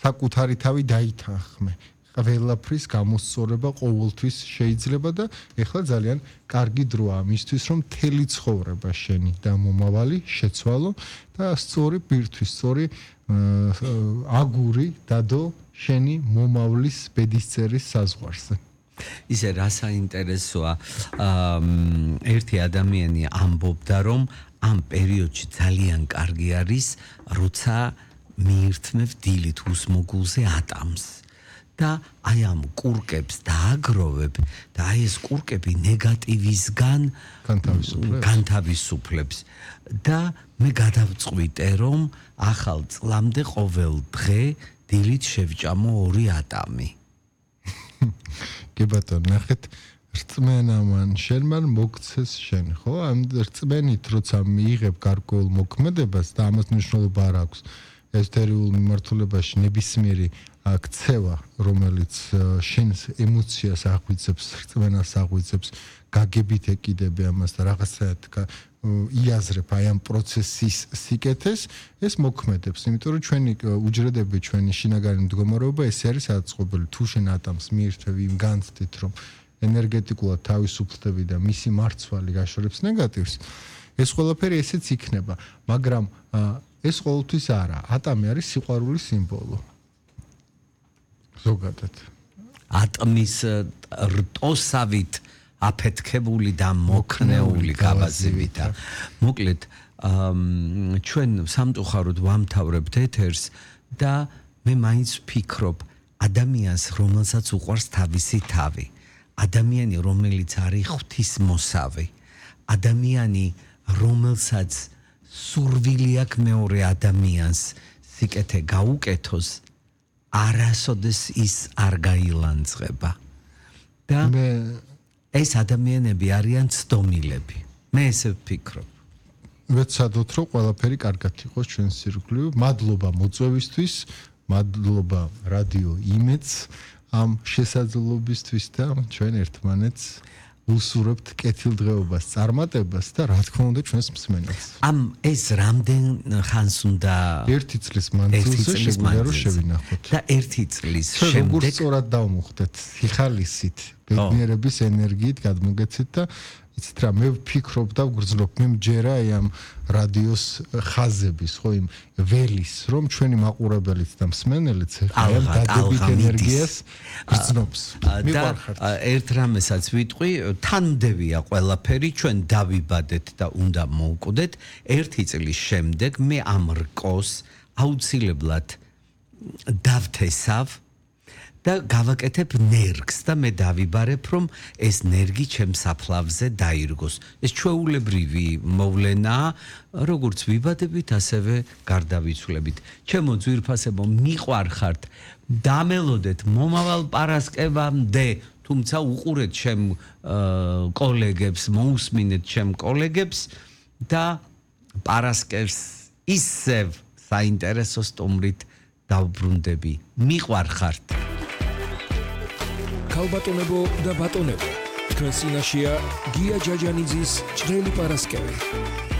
საკუთარი თავი დაითანხმე. ყველაფრის გამოსწორება ყოველთვის შეიძლება და ეხლა ძალიან კარგი დროა მისთვის რომ მთელი ცხოვრება შენი და მომავალი შეცვალო და სწორი ბირთვის, სწორი აგური დადო შენი მომავლის ბედისწერის საზღვარზე. ისე რა საინტერესოა ერთი ადამიანი ამბობდა რომ ამ პერიოდში ძალიან კარგი არის როცა მიირთმევ დილით უსმოგულზე ატამს და აი ამ კურკებს დააგროვებ და აი ეს კურკები ნეგატივისგან განთავისუფლებს და მე გადავწყვიტე რომ ახალ წლამდე ყოველ დღე დილით შევჭამო 2 ატამი. კი ბატონო, ნახეთ რწმენამან შენმან მოგცეს შენ, ხო? ამ რწმენით როცა მიიღებ გარკვეულ მოქმედებას და ამას მნიშვნელობა არ აქვს ეზოთერიულ მიმართულებაში ნებისმიერი ქცევა, რომელიც შენს ემოციას აღვიძებს, რწმენას აღვიძებს, გაგებით ეკიდები ამას და რაღაცაად იაზრებ აი ამ პროცესის სიკეთეს, ეს მოქმედებს, იმიტომ რომ ჩვენი უჯრედები, ჩვენი შინაგანი მდგომარეობა ეს არის აწყობილი. თუ შენ ატამს მიირთმევ იმ განცდით, რომ ენერგეტიკულად თავისუფლდები და მისი მარცვალი გაშორებს ნეგატივს, ეს ყველაფერი ესეც იქნება, მაგრამ ეს ყოველთვის არა. ატამი არის სიყვარულის სიმბოლო. ზოგადად. ატმის რტოსავით აფეთქებული და მოქნეული გავაზივით. მოკლედ ჩვენ სამწუხაროდ ვამთავრებთ ეთერს და მე მაინც ვფიქრობ ადამიანს რომელსაც უყვარს თავისი თავი. ადამიანი რომელიც არის ღვთისმოსავი. ადამიანი რომელსაც სურვილი აქვს მეორე ადამიანს სიკეთე გაუკეთოს არასოდეს ის არ გაილანძღება. და ეს ადამიანები არიან ცდომილები. მე ესე ვფიქრობ. ვეცადოთ რომ ყველაფერი კარგად იყოს ჩვენს ირგვლივ. მადლობა მოწვევისთვის, მადლობა რადიო იმედს ამ შესაძლებლობისთვის და ჩვენ ერთმანეთს უსურვებთ კეთილდღეობას, წარმატებას და რა თქმა უნდა ჩვენს მსმენელს. ამ ეს რამდენ ხანს უნდა 1 წლის მანძილზე შეგვიძლია რომ შევინახოთ. და 1 წლის შემდეგ როგორ სწორად დავმოხდეთ სიხალისით, ბედნიერების ენერგიით გადმოგეცეთ და იცით რა მე ვფიქრობ და ვგრძნობ მე მჯერა ამ რადიოს ხაზების ხო იმ ველის რომ ჩვენი მაყურებელიც და მსმენელიც ამ დადებით ენერგიას გრძნობს. მიყვარხართ. ერთ რამესაც ვიტყვი, თანმდებია ყველაფერი, ჩვენ დავიბადეთ და უნდა მოვკვდეთ. 1 წლის შემდეგ მე ამ რკოს აუცილებლად დავთესავ და გავაკეთებ ნერგს და მე დავიბარებ რომ ეს ნერგი ჩემს საფლავზე დაირგოს. ეს ჩვეულებრივი მოვლენაა, როგორც ვიბადებით, ასევე გარდავიცვლებით. ჩემო ძვირფასებო, მიყვარხართ, დამელოდეთ მომავალ პარასკევამდე, თუმცა უყურეთ ჩემ კოლეგებს, მოусმინეთ ჩემ კოლეგებს და პარასკევს ისევ საინტერესო სტუმრით დავბრუნდები. მიყვარხართ. ქალბატონებო და ბატონებო, თქვენ წინაშეა გია ჯაჯანიძის ჭრელი პარასკევი.